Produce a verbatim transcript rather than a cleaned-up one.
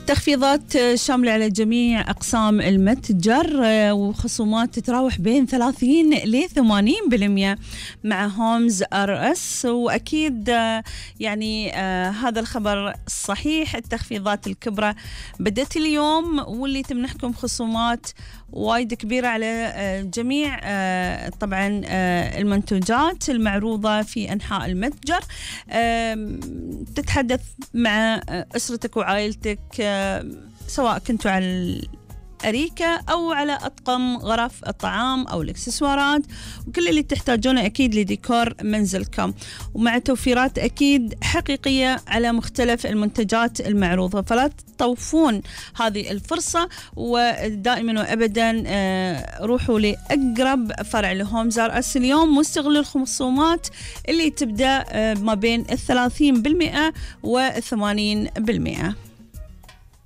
تخفيضات شاملة على جميع أقسام المتجر وخصومات تتراوح بين ثلاثين إلى ثمانين بالمئة مع هومز آر إس. وأكيد يعني آه هذا الخبر صحيح. التخفيضات الكبرى بدأت اليوم واللي تمنحكم خصومات وايد كبيرة على جميع طبعا المنتوجات المعروضة في أنحاء المتجر. تتحدث مع أسرتك وعائلتك سواء كنتوا على الأريكة أو على أطقم غرف الطعام أو الإكسسوارات وكل اللي تحتاجونه أكيد لديكور منزلكم، ومع توفيرات أكيد حقيقية على مختلف المنتجات المعروضة. فلا تطوفون هذه الفرصة، ودائما وأبدا روحوا لأقرب فرع لهومز آر إس اليوم واستغلوا الخصومات اللي تبدأ ما بين الثلاثين بالمئة والثمانين بالمئة.